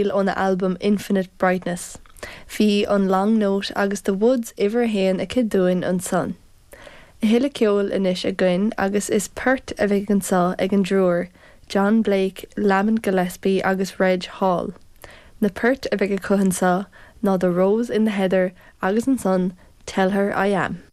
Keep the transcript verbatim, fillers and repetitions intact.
Óna albam Infinite Brightness. Bhí an Long Note agus The Woods uimhir a haon aici dúinn ansan. A thuilleadh ceoil anois againn agus is port a bheidh anseo ag an dtriúr, John Blake, Lamont Gillespie agus Reg Hall. Na poirt a bheidh acu anseo ná The Rose in the Heather agus ansan Tell Her I Am.